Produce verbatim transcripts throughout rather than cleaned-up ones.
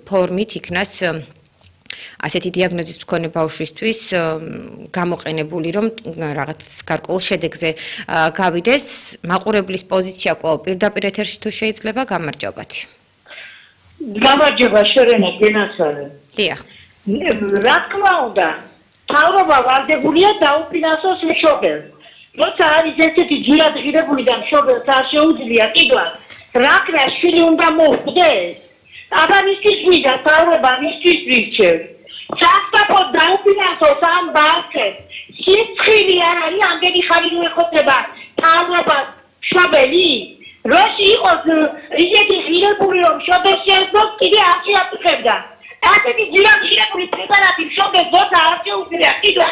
ფორმით იქნას ასეთი დიაგნოზის მქონე ბავშვისთვის გამოყენებული, რომ რაღაც გარკვეულ შედეგზე გავიდეს. მაყურებლის პოზიცია კვლავ პირდაპირ ეთერში თუ შეიძლება, გამარჯობათ. გამარჯობა შერენა გენასალე. დიახ. რა თქმა უნდა, თავრობა ვალდებულია დაუფინანსოს მშობელს. როცა არის ესეთი ჯირადღირებული და მშობელს არ შეუძლია კიდევ რაკრა შვილი უნდა მოხვდეს. აბანისთვის ვიდა თავრობა მისთვის ვირჩევ. სასწრაფოდ დაუფინანსოს ამ ბავშვებს. სიცხილი არ არის ამდენი ხანი უეხოთება თავრობას მშობელი. როში იყოს ისეთი ღირებული რომ მშობელს შეეძლოს კიდე არ შეაწუხებდა. ასეთი ჯირადღირებული პრეპარატი მშობელს როცა არ შეუძლია კიდევ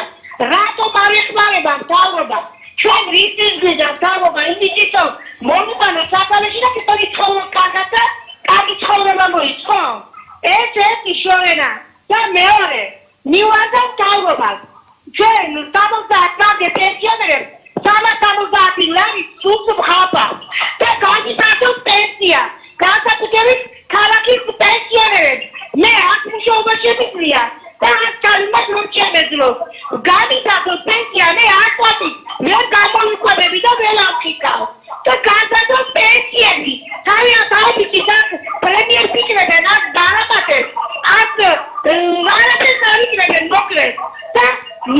რატომ არ ეხმარება თავრობა? ჩვენ რისთვის გვიდა თავრობა იმისთვის რომ მომიყვანა საფალეში და კეთილი ცხოვრება კარგად და კარგი ცხოვრება მოიწყო. ეს ერთი შორენა და მეორე მივადა თავრობას. ჩვენ სამოცდაათ მამდე პენსიონერებს სამას სამოცდაათი ლარი სულს ვხავდა და განისახოს პენსია. განსაკუთრებით ქალაქის პენსიონერებს. მე აქ მუშაობაში ვიყრია და კალმად რომ შემეძლო. განისახოს პენსია მე არ ყვატი. მე გამოვიყვებები და ველავხიკავ. და განსაკუთრებით პენსიები. თავიანთ აუდიტის აქ პრემიერ ფიქრებენ აქ დარაბატებს. აქ არაფერს არ იკრებენ მოკლედ. და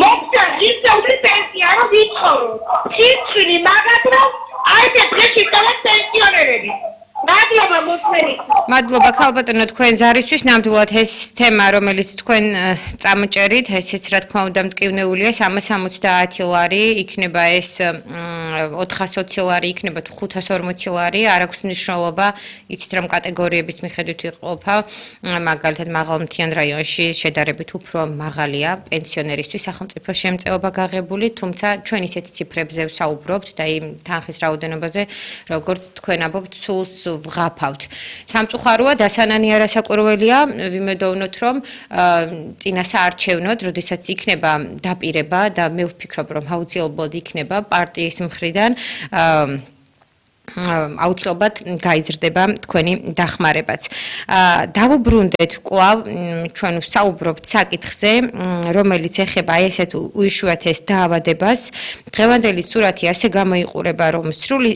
მოგდა ისეული პენსია რომ ვიცხოვრო. სიცხილი მაგათ რომ აი ეს დღეში თავად პენსიონერები. მადლობა მოწმენით. მადლობა ქალბატონო თქვენ ზარისთვის. ნამდვილად ეს თემა, რომელიც თქვენ წამოჭერით, ესეც რა თქმა უნდა მტკივნეულია, სამას სამოცდაათი ლარი, იქნება ეს ოთხას ოცი ლარი, იქნება თუ ხუთას ორმოცი ლარი, არ აქვს მნიშვნელობა, იცით რომ კატეგორიების მიხედვით იყოფა, მაგალითად მაღალმთიან რაიონში შედარებით უფრო მაღალია პენსიონერისთვის სახელმწიფო შემწეობა გაღებული, თუმცა ჩვენ ისეთ ციფრებზე ვსაუბრობთ და იმ თანხის რაოდენობაზე, როგორც თქვენ ამბობთ, სულს ვღაფავთ. სამწუხაროა, დასანანი არასაკურველია, ვიმედოვნოთ, რომ წინა საარჩევნოდ, როდესაც იქნება დაპირება და მე ვფიქრობ, რომ აუცილებლად იქნება პარტიის მხრიდან აუცილებლად გაიზრდება თქვენი დახმარებაც. დავუბრუნდეთ კვლავ ჩვენ ვსაუბრობთ საკითხზე, რომელიც ეხება აი ესეთ უიშვიათეს დაავადებას. დღევანდელი სურათი ასე გამოიყურება, რომ სრული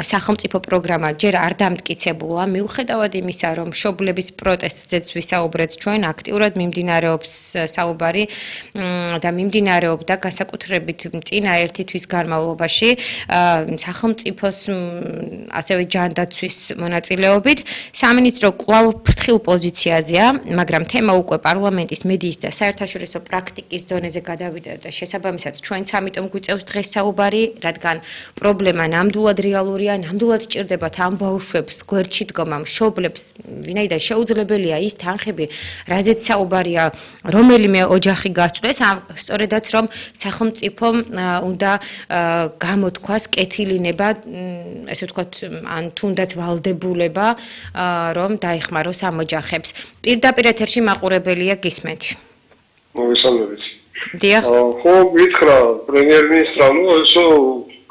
სახელმწიფო პროგრამა ჯერ არ დამტკიცებულა, მიუხედავად იმისა, რომ მშობლების პროტესტზეც ვისაუბრეთ ჩვენ, აქტიურად მიმდინარეობს საუბარი და მიმდინარეობდა განსაკუთრებით წინა ერთი თვის განმავლობაში სახელმწიფოს ასევე ჯანდაცვის მონაწილეობით. სამინისტრო კვლავ ფრთხილ პოზიციაზეა, მაგრამ თემა უკვე პარლამენტის, მედიის და საერთაშორისო პრაქტიკის დონეზე გადავიდა და შესაბამისად ჩვენც ამიტომ გვიწევს დღეს საუბარი, რადგან პრობლემა ნამდვილად რეალურია, ნამდვილად სჭირდებათ ამ ბავშვებს გვერდში დგომა, მშობლებს, ვინაიდან შეუძლებელია ის თანხები, რაზეც საუბარია, რომელიმე ოჯახი გასწვდეს, სწორედაც რომ სახელმწიფომ უნდა გამოთქვას კეთილინება, ესე ვთქვათ, ან თუნდაც ვალდებულება, რომ დაეხმაროს ამ ოჯახებს. პირდაპირ ეთერში მაყურებელია გისმენთ. მოგესალმებით. დიახ. ხო, მითხრა პრემიერ-მინისტრმა, ნუ ესო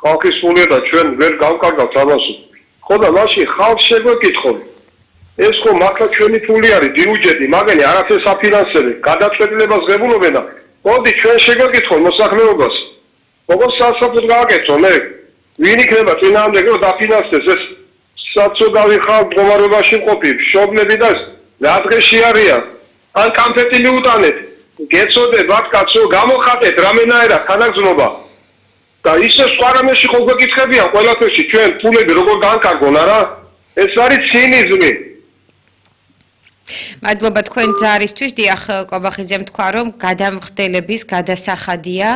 ხალხის სულია და ჩვენ ვერ გავკარგავთ ამას. ხო და მაშინ ხალხს შეგვეკითხონ. ეს ხო მართლა ჩვენი ფული არის, ბიუჯეტი, მაგენი არაფერს აფინანსებენ, გადაწყვეტილებას ღებულობენ და მოდი ჩვენ შეგვეკითხონ მოსახლეობას. როგორც სასწრაფოდ გააკეთონ, მე ვინ იქნება წინააღმდეგ რომ დაფინანსდეს ეს საცოდავი ხალხ მდგომარეობაში მყოფი მშობლები და რა დღეში არიან ან კამფეტი მიუტანეთ გეცოდებათ კაცო გამოხატეთ რამენაერად თანაგზნობა და ისე სხვა რამეში ხო გვეკითხებიან ყველაფერში ჩვენ ფულები როგორ განკარგონ არა ეს არის ცინიზმი. მადლობა თქვენ ზარისთვის. დიახ, კობახიძემ თქვა, რომ გადამხდელების გადასახადია,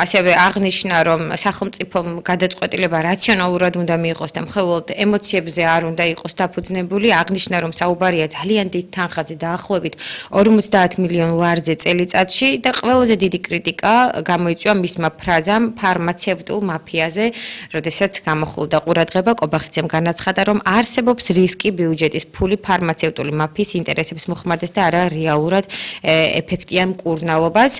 ასევე აღნიშნა, რომ სახელმწიფომ გადაწყვეტილება რაციონალურად უნდა მიიღოს და მხოლოდ ემოციებზე არ უნდა იყოს დაფუძნებული. აღნიშნა, რომ საუბარია ძალიან დიდ თანხაზე, დაახლოებით ორმოცდაათ მილიონ ლარზე წელიწადში და ყველაზე დიდი კრიტიკა გამოიწვია მისმა ფრაზამ ფარმაცევტულ მაფიაზე, როდესაც გამოხულდა ყურადღება, კობახიძემ განაცხადა, რომ არსებობს რისკი ბიუჯეტის ფული ფარმაცევტული მაფიის ინტერესებს მოხმარდეს და არა რეალურად ეფექტიან მკურნალობას.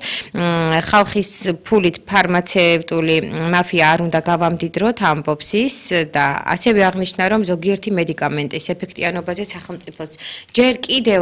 ხალხის ფულით ფარმაცევტული მაფია არ უნდა გავამდიდროთ, ამბობს ის და ასევე აღნიშნა, რომ ზოგიერთი მედიკამენტის ეფექტიანობაზე სახელმწიფოს ჯერ კიდევ